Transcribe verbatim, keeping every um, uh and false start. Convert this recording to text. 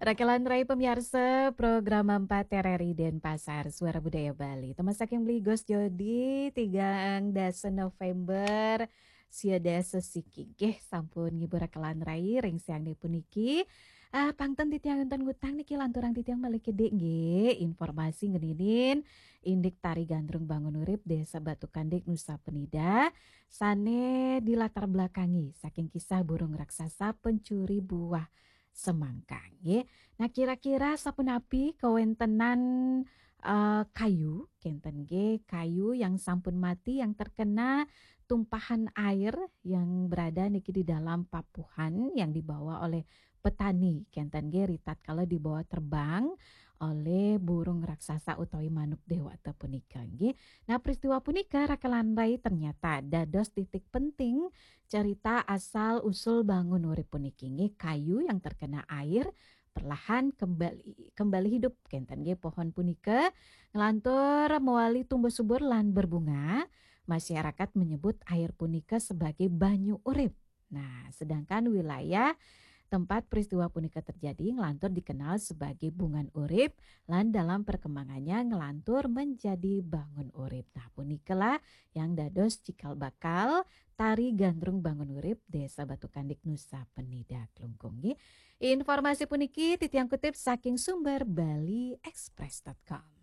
Rakelan rai pamiarsa program empat R R I Denpasar, Suara Budaya Bali. Tembang saking Bligos Jodi, tigang dasa November, sia dasa siki. Nggih, sampun ngibur rakelan rai ring siang puniki. Ah, pangten titiang wénten ngutang niki lanturang titiang malih kedhik nggih. Informasi ngeninin indik Tari Gandrung Bangun Urip Desa Batu Kandik Nusa Penida sané dilatar belakangi saking kisah burung raksasa pencuri buah semangka nggih. Nah, kira-kira sapunapi kawéntenan eh, kayu, kénten nggih, kayu yang sampun mati yang terkena tumpahan air yang berada niki di dalam papuhan yang dibawa oleh petani, kénten nggih, ritatkala dibawa terbang oleh burung raksasa utawi manuk dewata punika nggih. Nah, peristiwa punika rakelan rai ternyata dados titik penting cerita asal usul Bangun Urip puniki nggih, kayu yang terkena air perlahan kembali kembali hidup, kénten nggih, pohon punika nglantur mawali tumbuh subur lan berbunga. Masyarakat menyebut air punika sebagai banyu urip. Nah, sedangkan wilayah tempat peristiwa punika terjadi nglantur dikenal sebagai Bungan Urip lan dalam perkembangannya nglantur menjadi Bangun Urip. Nah, punikalah yang dados cikal bakal Tari Gandrung Bangun Urip Desa Batu Kandik Nusa Penida Klungkung nggih. Informasi puniki titiang kutip saking sumber bali express dot com.